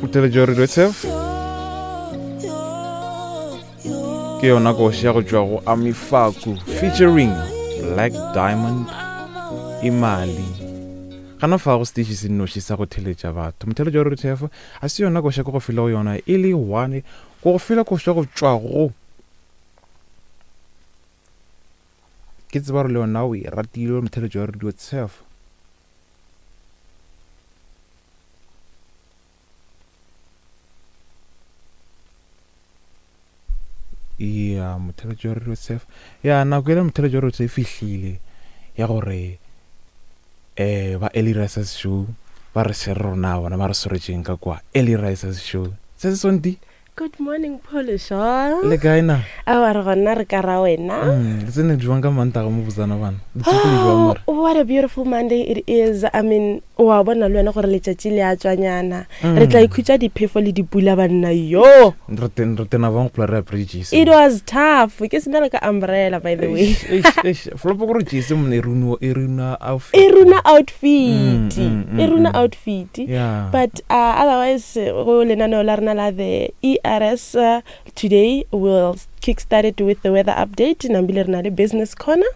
Motheletši wa Radio Turf ke yona koši ya go tšwa go Amifaku featuring Black Diamond Imali. Gana fa go station se nnoši sa go theletša batho. Motheletši wa Radio Turf a se yona koša ke go file go yona e le one go go file koša go tšwa go ke tseba gore le yona o e ratile motheletši wa Radio Turf. Ya motheletši wa Radio Turf ya nako ele motheletši wa Radio e fihlile ya gore um ba Early Risers Show ba re share rona bona ba re swaretšeng ka kwa Early Risers Show se se sonti. Good morning Phološo. Le kae na? Aowa re gona re ka ra wena. Mm, le tsene jwang ka Mantaga mo botsana bana? Le tsogile jwang mara? Oh, what a beautiful Monday it is. I mean, wa bona le wena gore letšatši le a tswanyana. Mm. Re tla ikhutša diphefo le dipula banna yo. Re ten re tena bang go re apere jesi. It was tough. Ke sena le ka umbrella by the way. Eish, eish, Flopo gore jesi mone e runa e runa outfit. E runa outfit. Mm, mm, mm, e runa mm. outfit. Yeah. But Uh, otherwise, go lenaneo la rena la the ERS uh, today will kickstart it with the weather update. Nambile re na le business corner.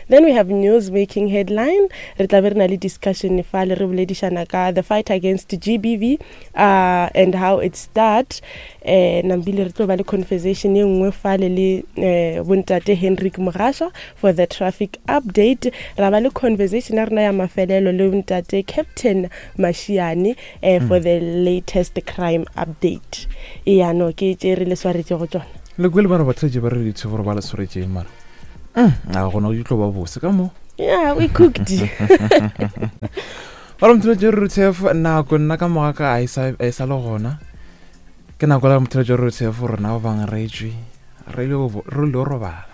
Then we have news making headline. Re tla be re na le discussion fa le re boledišana ka the fight against GBV uh, and how it start. Eh, nambile re tlo ba le conversation ye nngwe fale le eh, bontate Henrik Mogasha for the traffic update. Ra ba le conversation ya rena ya mafelelo le bontate Captain Mashiane eh, for the latest crime update. Eya no ke tše re le swaretšego tšona. Le kwele ba re batheletši ba re dithe gore ba le swaretšeng mara mm, a gona go tlo ba bose ka mo. Yeah, we cooked. Ba re motheletši re ruthe nako nna ka moga ka a e sa e sa le gona. Ke nako la motheletši re ruthe rena ba bang re tšwe re ile re ile robala.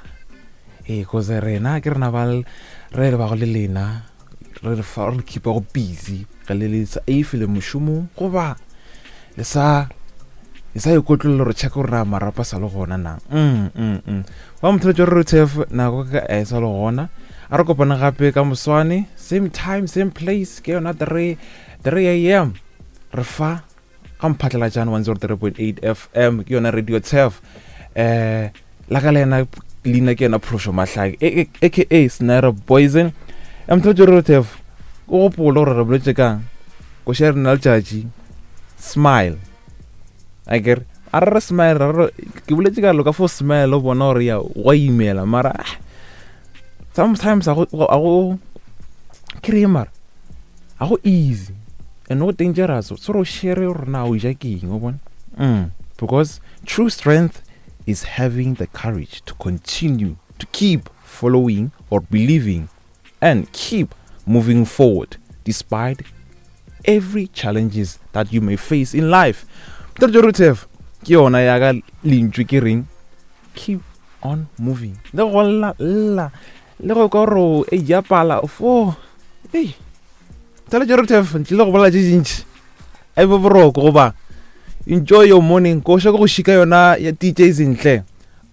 Ee, cause rena ke rena ba re le bago le lena re re fa re keepa go busy ge le le sa if le mošomong goba le sa le sa ikotlolola gore check gore na marapo a sa le gona na mm, mm, mm. Ba motheletši re ruthe nako ka e sa le gona a re kopane gape ka moswane same time same place ke yona 3 3 am re fa ga mphatlalatšane 103.8 fm ke yona radio turf eh la ka le yena leina ke yena phološo mahlake aka snare poison mtho radio turf o gopole gore re boletse kang koša rena letšatši smile a kere a re re smile re re ke boletse ka loka fo smile o bona gore ya wa imela mara ah, sometimes a go ke re mara ga go easy and go dangerous so re share gore na o ja ke eng o bona mm. because true strength is having the courage to continue to keep following or believing and keep moving forward despite every challenges that you may face in life ke yona ya ka lentšu ke reng keep on moving le go lla lla le go ka gore e ja pala fo ei tsala jero tef ntle go bolela tše dintši a be boroko goba enjoy your morning ko šaka go šika yona ya DJ Zinhle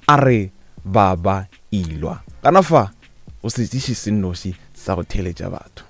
a re baba ilwa kana fa o setiši se nnoši sa go theeletša batho.